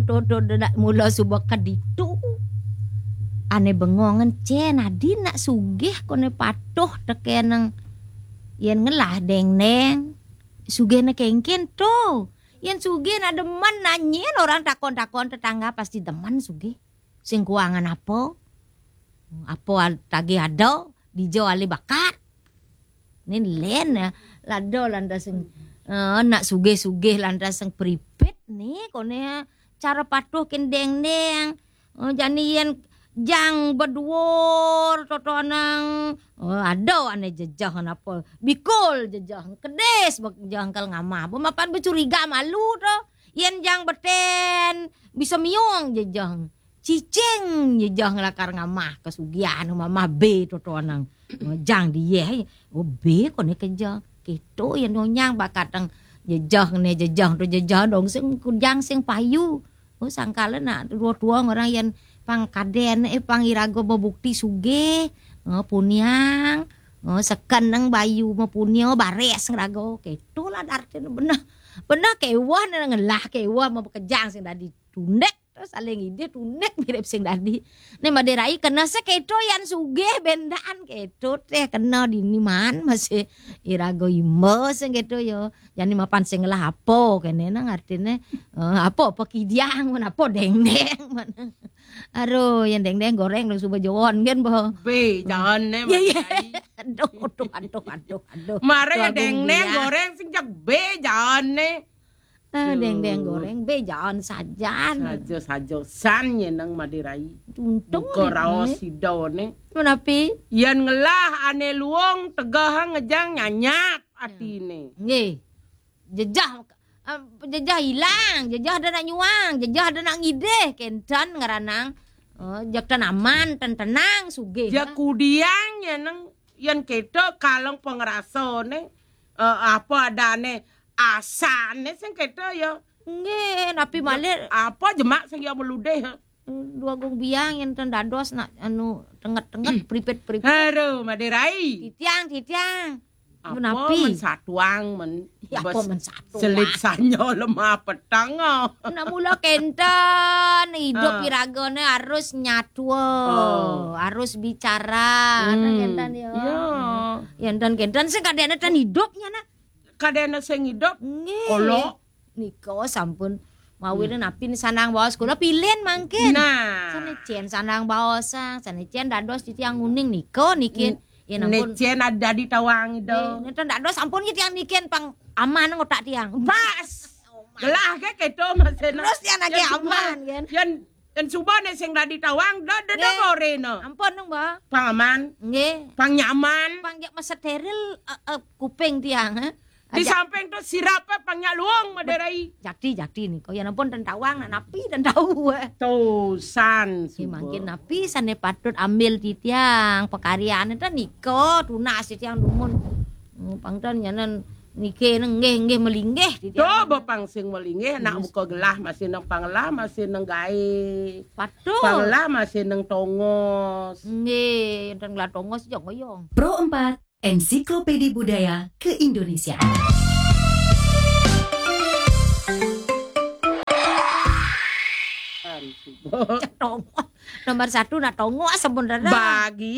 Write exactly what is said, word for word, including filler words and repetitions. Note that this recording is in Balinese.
Dodo nak mula suba ka ditu. Ane bengongen cen adi nak sugih kone patuh tekeneng yen ngelah dengdeng. Sugihne kengken to. Yen sugih nak demen nanyen orang takon-takon tetangga pasti demen sugih. Sing kuangan apa? Apa al-, tagih ada, dija ale bakat. Ni len, eh, lada lantas sing, eh, nak sugih-sugih lantas sing pripit ni kone cara patuh ken dengdeng. Eh, jani yen jang beduur totonang, eh, ada ane jejeh napa? Bikul jejeh, kedis bek-, jejeh engkel ngamah. Bemapan becuriga malu to. Yen jang beten bisa miung jejeh. Cicing jejeh ngelakar ngamah kesugihan mamah be totonang. Jang dieh, oh, be kone kejeh. Keto yen nyonyang bakateng jejeh ne jejeh to jejeh dong sing kujang sing payu. Oh, sangkala nak tua-tua orang yen pang kaden, eh, pang iraga bebukti sugih, eh, puniang, eh, seken neng bayu mepunia bares ngeraga. Keto lah artine beneh. Beneh kewah ne ngelah kewah mau bekejang sing dadi tundek. Terus saling ide tundek mirip sing dadi. Ne Madai Rai kena seketo yan sugih bendan keto teh kena dini man masih iraga imba sing keto ya. Jani mapan sing ngelah apa kene nang artine, eh, apa, apa kidiang, men apa dengdeng, men. Aduh, yang dengdeng goreng dong suba jawon kan, boh. Be, jangan ne, Ya, ya. Madai Rai. Aduh, aduh, aduh, aduh, aduh. Mare Tuh, ya Agung dengdeng Biang. Goreng sing jak be, jangan ne. Ah, dengdeng Tuh. Goreng be, jangan sajan. Saja, saja. San nyeneng Madai Rai. Untung Buka nih, raos nih. Sida ne. Menapi? Yan ngelah ane luung tegah ngejang nyanyap atine. Nggih. Jejah, eh, jejah ilang, jejah ada nak nyuang, jejah ada nak ngidih, kenten ngeranang. Eh, jak tan aman, tan tenang, sugih. Ja kudiang ya neng, yan keto kaleng pengerasane, eh, apa adane, asane sing keto ya. Nggih, napi malih? Apa jemak sing ya meludih? Dua Agung Biang yang tan dados nak anu tenget-tenget, pripit-pripit. Aduh, Madai Rai. Titiang, titiang. Apa Menapi? Men satuang, men Ya, apa bes men satuang? Selit sanya lemah petang, ah. Nak mula kenten, hidup Ah. Iragane harus nyatua, Oh. Harus bicara. Nah, Hmm. Kenten ya. Ya. Yang dan kenten sing kadene tan hidupnya, nak. Kadene sing hidup, Nggih. Kolo. Nika sampun mawine Hmm. Napi ni sanang baos kula pilin mangkin. Nah. Sane cen sanang baosang, sane cen dados titiang uning nika niki. N-, Ya ampun. Necen ada dadi tawang ida. Nggih, nenten dados sampun ki tiang niki pang aman ngotak tiang. Pas. Gelah ke keto masena. Terus tiang nagih Yan suba, aman, kan? Yan, yan suba ne sing dadi tawang, da, da, da Nggih. Gorena. Ampun, nung, Mbah. Pang aman. Nggih. Pang nyaman. Pang jak mesteril, eh, eh, kuping tiang, eh. Di Ajak. Samping tu sirape pang nyak luung Madai Rai. Jati, jati nika. Ya ampun, tan tawang, nak napi tan tau, eh. Tusan, Nggih, suba. Mangkin napi sane patut ambil titiang, pekaryane tan nika, tunas titiang dumun. Hmm, pang tan nyanan niki nggih, nggih melinggih titiang. Coba pang sing melinggih, nak Yes. Buka gelah masih nang panglah, masih nang gae. Patut. Panglah masih nang tongos. Nggih, tan gelah tongos jong oyong. Pro empat, Ensiklopedi Budaya Keindonesiaan. Tongos. Nomor satu nak tongos sampun dah. Bagia.